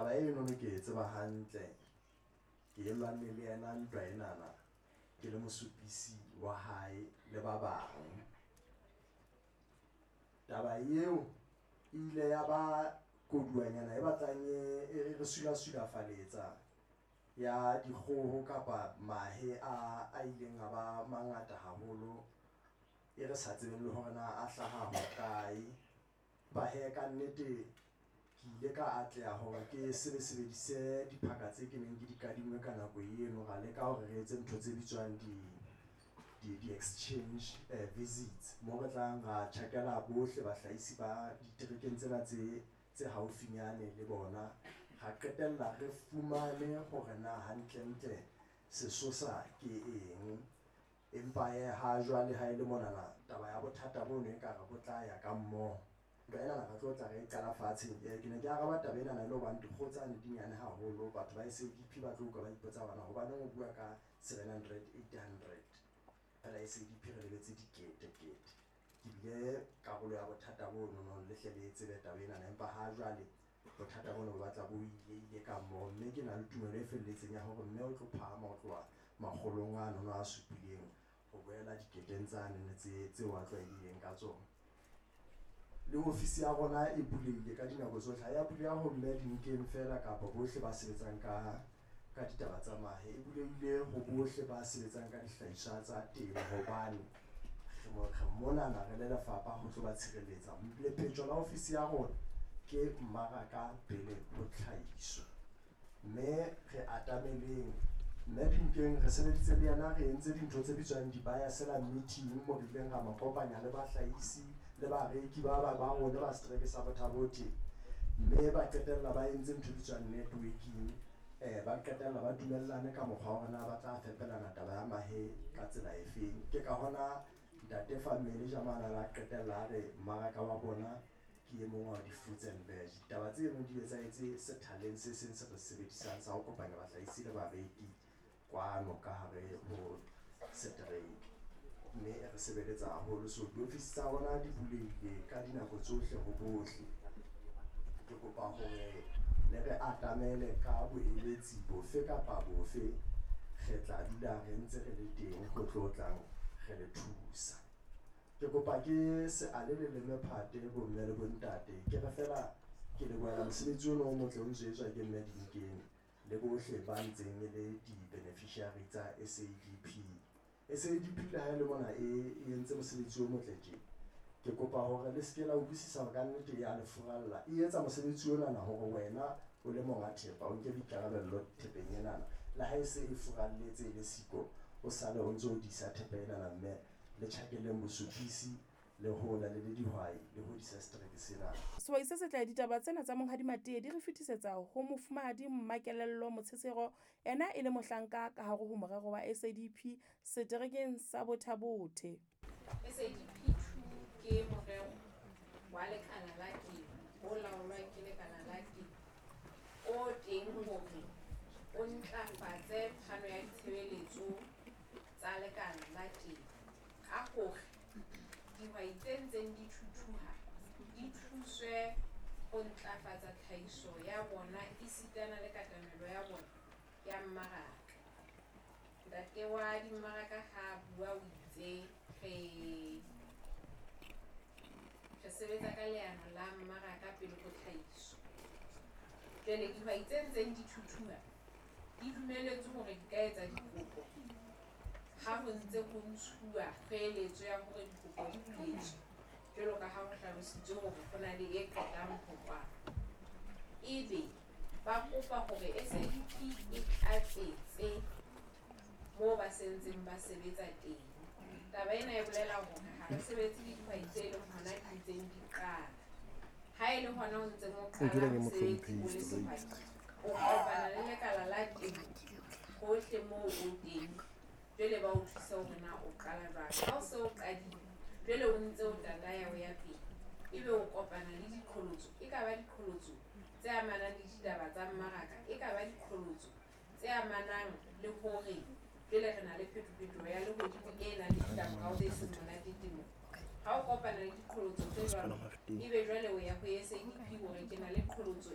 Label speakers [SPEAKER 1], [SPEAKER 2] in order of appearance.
[SPEAKER 1] Taba enono ke e tseba hantle, ke e lwanne le yena ntwa enana ke le mosupisi wa hae le ba bang. Taba eo e ile ya ba koduwanyana e batlang e re sulafalafaletsa ya dikgoho kapa mahe a ileng a ba mangata haholo, e re sa tsebeng le hore na a hlaha hokae. Empa hee ka nnete ke ile ka atleha hore ke sebedise diphaka tse ke neng ke di kadimme ka nako eno. Ra leka hore re etse ntho tse bitswang di-exchange visits moo re tlang ra tjhakela bohle bahlahisi ba diterekeng tsena tse haufinyane le bona. Ra qetella re fumane hore na hantlentle sesosa ke eng. Empa hee ha jwale ha e le monana taba ya bothata bono ekare bo tla ya ka mmoho. Ntwa enana re tlo tla re e qala fatshe. Ke ne ke araba taba enana e le hobane dikgoho tsane di nyane haholo. Batho ba SADP ba tlo utlwa ba ipotsa hore na hobaneng o bua ka 700, 800. Feela SADP re lebetse dikete-kete. Ke bile karolo ya bothata bonono le hle le tsebe taba enana. Empa ha jwale bothata bono bo batla bo ile ka mmoho. Mme ke na le tumelo e felletseng ya hore mme o tlo phahama ho tloha makgolong ano a supileng ho boela diketeng tsane tseo a tlwaelehileng ka tsona. Le ofisi ya rona e bulehile ka dinako tsohle. Ha ya buleha ho mme Dinkeng feela kapa bohle ba sebetsang ka ditaba tsa mahe. E bulehile ho bohle ba sebetsang ka dihlahiswa tsa temo hobane re monana re le lefapha ho tlo ba tshireletsa. Lephetjo la ofisi ya rona ke mmaraka pele ho tlhahiso. Mme re atameleng mme Dinkeng re sebeditse le yena, re entse dintho tse bitswang di-buyer-seller meeting mo re ileng ra mo kopanya le bahlahisi le bareki ba rona ba setereke sa Botha-Bothe. Mme ba qetella ba entse ntho e bitswang networking. Ba qetella ba dumellane ka mokgwa wa hore na ba tla fepelana taba ya mahe ka tsela e feng. Ke ka hona ntate Family Jamana la qetella a re mmaraka wa bona ke e mong wa di-fruits and veg. Ditaba tseno di etsahetse sethaleng se seng se re sebedisang sa ho kopanya bahlahisi le bareki kwano ka hare ho setereke. Mme re sebeletsa haholo. So diofisi tsa rona di bulehile ka dinako tsohle ho bohle. Ke kopa hore le re atamele ka boeletsi bofe kapa bofe. Re tla dula re ntse re le teng ho tlo tlang re le thusa. Ke kopa ke se ale le leme phate bomme le bontate. Ke re feela ke lebohela mosebetsi ono o motle o ntso etswa ke mme Dinkeng le bohle ba ntseng e le di-beneficiary tsa SADP. SADP le ha e le mona e entse mosebetsi o motle tje. Ke kopa hore le seke la utlwisisa hore kannete ya le furalla. E etsa mosebetsi onana hore wena o le monga thepa o nke boikarabello thepeng enana. Le ha e se e furalletse e le siko, o sale o ntso o disa thepa enana mme le tjhakeleng bosupisi le hola le le dihwai le hodisa setereke sena.
[SPEAKER 2] Sehwai se setle ditaba tsena tsa Monghadi Matee di re fetisetsa ho Mofumahadi Mmakelello Motshetsero, ena e le mohlanka ka hare ho morero wa SADP seterekeng sa Botha-Bothe.
[SPEAKER 3] SADP 2 ke morero wa lekala la temo o laolwang ke lekala la temo o teng hore o ntlafatse phano ya ditshebeletso tsa lekala la temo ka hore dihwai tse ntseng di thuthuha di thuswe ho ntlafatsa tlhahiso ya bona esitana le katamelo ya bona ya mmaraka. Ntate wa dimmaraka ha bua o itse re sebetsa ka leano la mmaraka pele ho tlhahiso. Jwale dihwai tse ntseng di thuthuha di dumeletswe hore di ka etsa dikopo ha ho ntse ho ntshuwa kgoeletso ya hore dikopo di buletswe jwalo ka ha ho hlalositswe hore ho na le e qetang ho kwalwa. Ebe ba kopa hore SADP e tlatsetse moo ba sentseng ba sebetsa teng. Taba ena e bolela hore ha re sebetse le dihwai tse leng hona di ntseng di qala. Ha e le hona o ntseng o qala mosebetsi o le sehwai, o kopana le lekala la temo hohle moo o teng. Jwale ba o thusa hore na o qala jwang. Ha o se o qadile, jwale o ntse o tataya o ya pele. Ebe o kopana le diqholotso, e ka ba diqholotso tse amanang le ditaba tsa mmaraka, e ka ba diqholotso tse amanang le hore jwale re na le phetophetoho ya lehodimo e nang le ditlamorao tse seng monate temong. Ha o kopana le diqholotso tse jwalo, ebe jwale o ya ho SADP hore ke na le qholotso